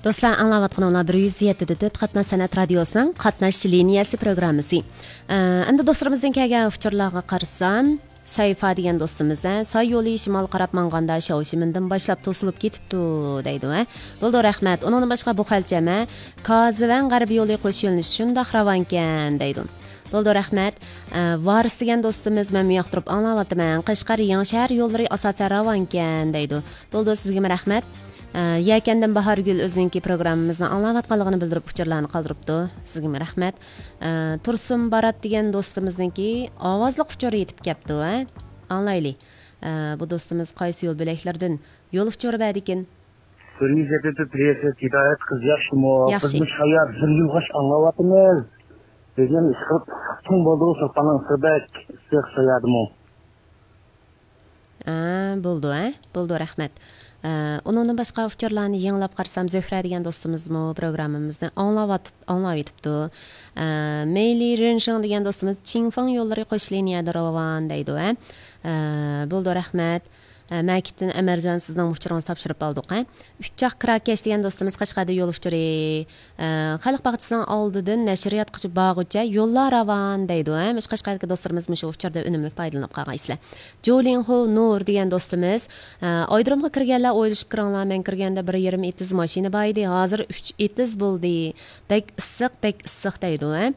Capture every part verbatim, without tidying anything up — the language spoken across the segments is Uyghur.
دوستلار، ئاڭلاۋاتقىنىڭلار بىر يۈز يەتتە دە تۆت قاتناش سەنئەت رادىيوسىنىڭ قاتناش لىنىيەسى پروگراممىسى. ئە، ئەمدى دوستلىرىمىزدىن كەلگەن ئۇچۇرلارغا قارىسام، سەيفا دېگەن دوستىمىز، ھە، ساي يولى شىمالغا قاراپ ماڭغاندا شاۋشىمىندىن باشلاپ توسۇلۇپ كېتىپتۇ، دەيدۇ، ھە. بولىدۇ، رەھمەت. ئۇنىڭدىن باشقا بۇ خەلچەم، ھە، كازىۋەن غەربىي يولى قوش يۆنىلىشى شۇنداق راۋانكەن، دەيدۇ. بولىدۇ، رەھمەت. ئە، ۋارىس دېگەن دوستىمىز، مەن بۇ ياقتا تۇرۇپ ئاڭلاۋاتىمەن. قەشقەر يېڭىشەھەر يوللىرى ئاساسەن راۋانكەن، دەيدۇ. بولىدۇ، سىزگىمۇ رەھمەت. ئە، يەكەندىن باھارگۈل ئۆزىنىڭكى پروگراممىمىزنى ئاڭلاۋاتقانلىقىنى بىلدۈرۈپ ئۇچۇرلارنى قالدۇرۇپتۇ. سىزگىمۇ رەھمەت. ئە، تۇرسۇن بارات دېگەن دوستىمىزنىڭكى ئاۋازلىق ئۇچۇرى يېتىپ كەپتۇ، ھە؟ ئاڭلايلى. ئە، بۇ دوستىمىز قايسى يول بۆلەكلىرىدىن يول ئۇچۇرى بەردىكىن؟ بىر يۈز يەتتە تۆت پرېسسېت ھىدايەت قىز ياخشىمۇ؟ ياخشى. بىز مۇشۇ يەردە بىر يىلغاچ ئاڭلاۋاتىمىز. بىزنىڭ ئىشقىلىپ ئىسسىق چوڭ بولدى، شولپاننىڭ ئىسسىقىدەك ئىسسىق شۇ يەردىمۇ. ئە، بولىدۇ، ھە؟ بولىدۇ، رەھمەت. ئە، ئۇنىڭدىن باشقا ئۇچۇرلارنى يېڭىلاپ قارىسام، زۆھرە دېگەن دوستىمىزمۇ پروگراممىمىزنى ئاڭلاۋاتىپ-، ئاڭلاۋېتىپتۇ. ئە، مېيلى رېنشىڭ دېگەن دوستىمىز چىڭفېڭ يوللىرى قوش لىنىيەدە راۋان دەيدۇ، ھە؟ ئە، بولىدۇ، رەھمەت. ئە، مەكىتتىن ئەمەرجان، سىزنىڭ ئۇچۇرىڭىزنى تاپشۇرۇپ ئالدۇق، ھە؟ ئۈچ چاق كىراكەش دېگەن دوستىمىز قەشقەردە يول ئۇچۇرى. ئە، خەلق باغچىسىنىڭ ئالدىدىن نەشرىياتقىچە بارغۇچە يوللار راۋان دەيدۇ، ھە؟ مۇشۇ قەشقەردىكى دوستلىرىمىز مۇشۇ ئۇچۇردىن ئۈنۈملۈك پايدىلىنىپ قالغايسىلەر. جولىڭخۇ نۇر دېگەن دوستىمىز، ئە، ئايرودرومغا كىرگەنلەر ئويلىشىپ كىرىڭلار، مەن كىرگەندە بىر يېرىم ئېتىز ماشىنا بار ئىدى، ھازىر ئۈچ ئېتىز بولدى. بەك ئىسسىق، بەك ئىسسىق دەيدۇ، ھە؟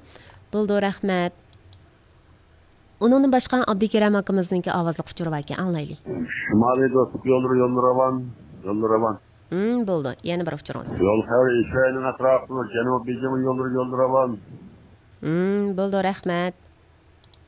بولىدۇ، رەھمەت. ئۇنىڭدىن باشقا ئابدۇكېرەم ئاكىمىزنىڭكى ئاۋازلىق ئۇچۇرى باركەن، ئاڭلايلى. شىمالىي دوستلۇق يوللىرى يوللىرى راۋان، يوللىرى راۋان. ھىم، بولىدۇ. يەنە بىر ئۇچۇرىڭىز. يول خەۋىرى ئىشەينىڭ ئەتراپىدا جەنۇبىي بېيجىڭ يوللىرى يوللىرى راۋان. ھىم، بولىدۇ، رەھمەت.